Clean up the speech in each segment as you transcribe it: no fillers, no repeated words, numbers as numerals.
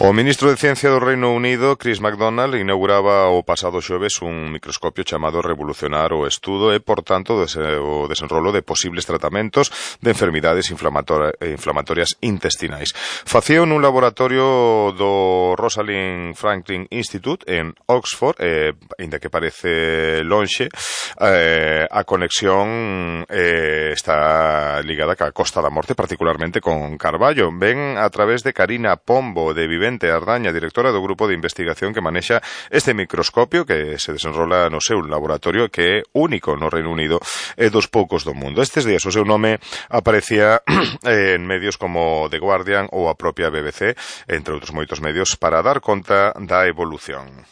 O ministro de Ciencia do Reino Unido, Chris McDonald, inauguraba o pasado xoves un microscopio chamado Revolucionar o Estudo e, por tanto, o desenrolo de posibles tratamentos de enfermidades inflamatorias intestinais. Facío nun laboratorio do Rosalind Franklin Institute en Oxford, ainda que parece lonxe, a conexión está ligada ca Costa da Morte, particularmente con Carballo. Ven a través de Karina Pombo, de Vivente Ardaña, directora do grupo de investigación que manexa este microscopio que se desenrola no seu laboratorio, que é único no Reino Unido e dos poucos do mundo. Estes días o seu nome aparecía en medios como The Guardian ou a propia BBC, entre outros moitos medios, para dar conta da evolución.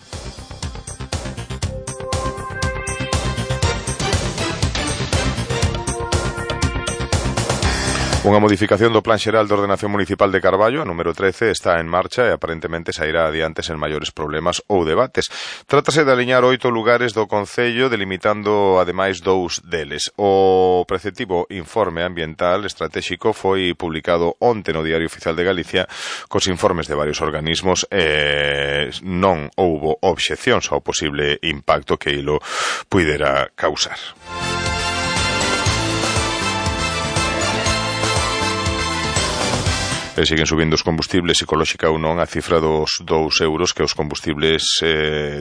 Unha modificación do Plan Xeral de Ordenación Municipal de Carballo, a número 13, está en marcha e aparentemente sairá adiante sen maiores problemas ou debates. Trátase de aliñar 8 lugares do concello, delimitando ademais 2 deles. O preceptivo Informe Ambiental Estratéxico foi publicado onte no Diario Oficial de Galicia cos informes de varios organismos e non houbo obxeccións ao posible impacto que ilo puidera causar. Siguen subindo os combustibles, ecolóxica ou non, a cifra dos 2 euros que os combustibles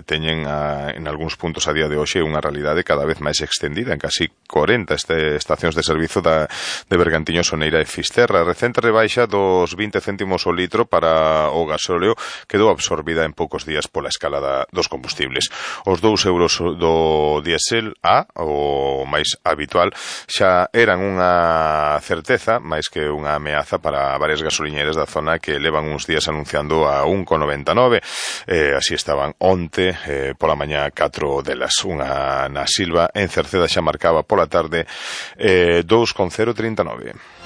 teñen en algúns puntos a día de hoxe unha realidade cada vez máis extendida en casi 40 estacións de servizo de Bergantiños, Soneira e Fisterra. A recente rebaixa dos 20 céntimos o litro para o gasóleo quedou absorbida en poucos días pola escalada dos combustibles. Os 2 euros do diésel A, o máis habitual, xa eran unha certeza máis que unha ameaza para varias gasolineras da zona que levan uns días anunciando a 1,99. Así estaban onte, pola mañá, 4 delas. Unha na Silva en Cerceda xa marcaba pola tarde 2,039.